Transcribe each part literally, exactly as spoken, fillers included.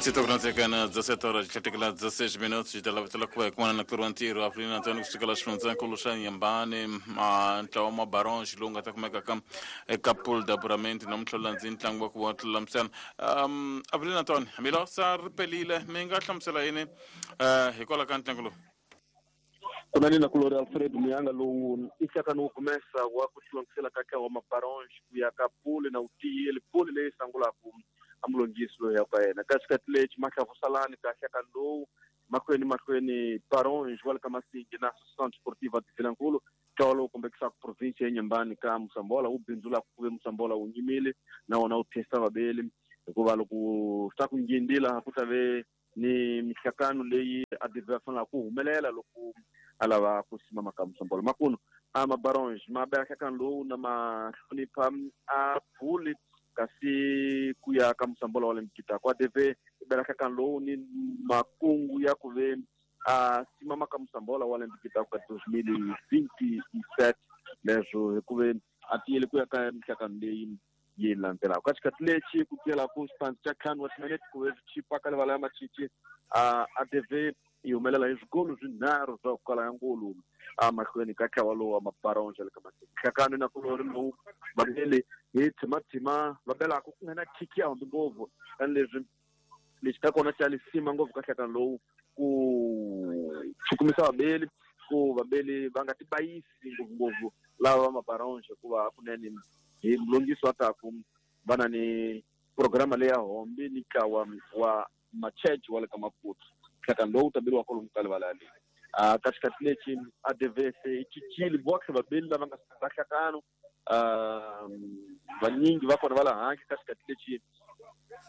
vinte e dezassete horas, dezesseis minutos, da kuva na Clorantir, Avelino Antônio kusukela xifundzankulu xa Nyambani, ntlawa wa Barons lowu nga ta kumeka ka eka pool d'apuramento namuntlha landzi ntlangu wa ku wa tlulamisana. Um Avelino Antônio, mi sa ri pelile, mi nga hlamusela yini hikwalaho ka ntlangu lowu? Kunani na kulori Alfredo Muyanga lowu i nhlakano wo kumesa wa ku tilongisela ka ntlawa wa Mabarons ku ya ka pool na wutiyeli pool leyi sangulaku amulongisi loyi ya ka yena kasi kati lexi mahlavusalani ka nhlakano lowu mahlweni mahlweni Barons wa le ka Masingi na Associação Desportiva de Vilankulu ntlawa lowu kombekisaka province ya Nyambani ka Musambola wu bindzulaka ku ve Musambola wu nyimile na wona wu testa vabeli hikuva loko swi ta ku ngindila ku ta ve ni mihlakano leyi a divha fanela ku humelela loko a lava ku simama ka Musambola makuno a Mabarons ma bela nhlakano lowu na ma hlonipha a phuli kasi ku ya ka Musambola wa le Mkitako a D V bela nhlakano lowu ni makungu ya ku ve a simama ka Musambola wa le Mkitako ka dois mil e vinte e sete leswo hikuve a tiyele ku ya ka mihlakano leyi yi landzelaka ka xikhathi lexi ku tiyelaku xipandzi xa ntlhanu wa timinete ku ve swi chipa ka livala ya Machichi a a D V yi humelela hi swigolo swinharhu swa ku kala ya ngulu emahlweni ka ntlawa lowu wa Mabarons ya le ka Masingi nhlakano na kulori lowu vabeli hi tshimatsima va belaka ku nga na khiki ya hambi ngopfu tanihileswi lexi ka kona xa lisima ngopfu ka nhlakano lowu ku chukumisa vabeli ku vabeli va nga tibayisi ngopfungopfu lava va Mabarons hikuva kunene hi mulongisi wa taku va na ni programa leyi ya hombi ni ntlawa wa Machurch wa le ka Maputo nhlakano lowu ta beriwa kwalomu ka livala yaleyo a ka xikhathi lexi a D V se yi cincile boxe vabeli lava nga sungula nhlakano vanyingi va kona va la handle ka xikhathi lexi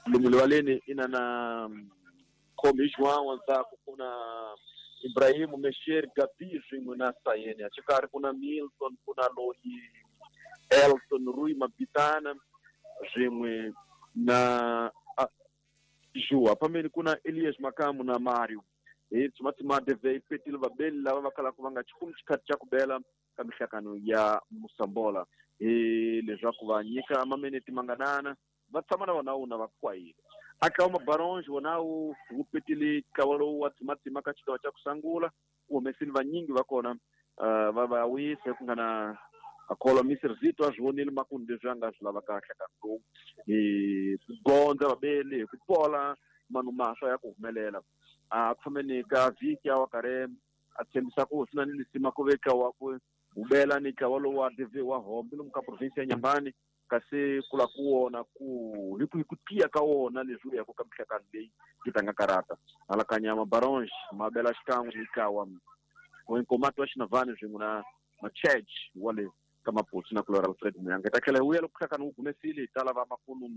lomu livaleni i na na Khomi João ndzhaku ku na Ibrahim Mesher Gabi swin'we na Sayeni xikarhi ku na Milton ku na loyi Elton Rui Mabitana swin'we na Joa pambeni ku na Elias Makamu na Mario hi tshimatsima D V yi petile vabeli lava va kalaka va nga xikumi xikhathi xa ku bela ka mihlakano ya Musambola hi leswaku va nyika mameneti manganana va tshama na vona wuna va kwayile a ntlawa Mabarons wona wu wu petile ntlawa lowu wa tshimatsima ka xigawa xa ku sungula ku humesile vanyingi va kona va va wisa ku nga na akholwa Mister Zito a swi vonile makumu leswi a nga swi lava ka nhlakano lowu hi ku gondza vabeli hi ku pola manu maswa ya ku humelela a ku fambeni ka vhiki a wa karhi a tshembisa ku swi na ni lisima ku ve ntlawa ku hubela ni ntlawa lowu wa D V wa hombi lomu ka province ya Nyambani kasi ku la ku wona ku hi ku hi ku tiya ka wona leswi u yaku ka mihlakano leyi yi tlanga karata hala ka nyama Barons ma bela xikan'we ni ntlawa wa Nkomati wa Xinavani swin'we na Machurch wa le ka Maputo na Kulora Alfred Muyanga hi ta tlhela hi vuya loko nhlakano wu gumesile hi ta lava makulu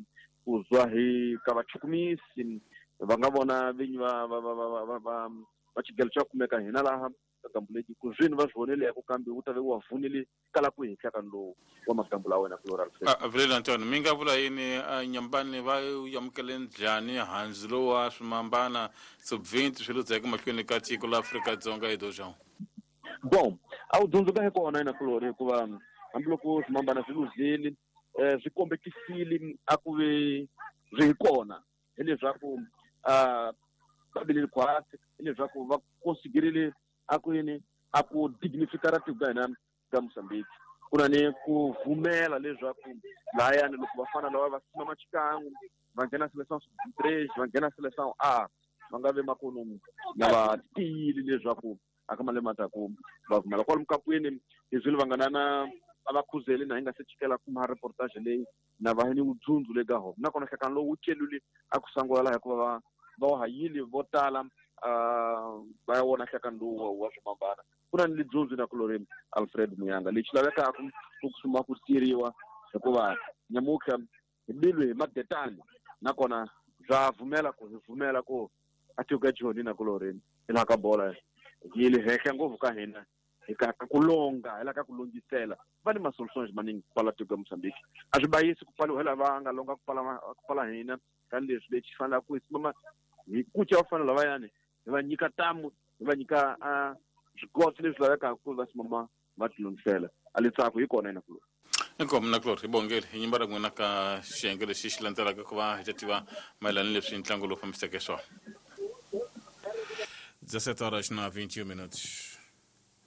ku zwa hi ka vachukumisi va nga vona vinyi va va va va va va va xigelo xa kumeka hina laha ka gambu leti ku swini va swi vonile ku kambe wu ta ve wa vunile kala ku hi nhlakano lowu wa magambu la wena Kulora Alfred. Avelino Antônio mi nga vula yini Nyambani va amukele njhani handzu lowu wa swimambana sub vinte swi ludzeke mahlweni ka tiko la Afrika-Dzonga hi dojo? Bon, a wu dyondzuka hi kona ina kulori hikuva hambiloko swimambana swi luzile um swi kombekisile a ku ve swi hi kona hileswaku um va bilile khwatsi hileswaku va konsigirile a ku yini a ku dignifikara tiko ka hina ka Mozambique ku na ni ku vumela leswaku lahayani loko vafana lava va simama xikan'we va nghena seleção sub três va nghena seleção A va nga ve makunu na va tiyile leswaku aka malembe mataku va pfumela kwalomu kapwini hi swilo va nga na na a va khuzeli na hi nga se chikela kuma reportage leyi na va ni wudzundzu le ka hona nakona nhlakano lowu wu celule a ku sangula laha hikuva va va wa ha yile vo tala va ya wona nhlakano lowu wa swimambana ku na ni lidzundzu na kulori Alfred Muyanga lexi lavekaka ku suma ku tirhiwa hikuva nyamutlha hi bilwe hi madetani nakona bya vumela ku hi vumela ku a tiko ka joni na kulori hi laha ka bola yi le henhla ngopfu ka hina hi ka ka ku longa hi la ka ku longisela va ni ma-solutions maningi ku pfala tiko ya Mozambique a swi bayisi ku pfaliwa hi lava nga longa ku pfala ku pfala hina tanihileswi lexi fanelaka ku hi simama hi kuca vafana lavayani hi va nyika tamu hi va nyika swigotso leswi lavekaka ku va simama va tilungisela a letsako hi kona ina kulori. Inkomu na Clore hi bongele hi nyimba ra n'wina ka xiyenge lexi xi landzelaka ku va hi ta tiva mayelana ni leswi ntlangu lowu fambiseke swona. dezessete horas na vinte e um minutos.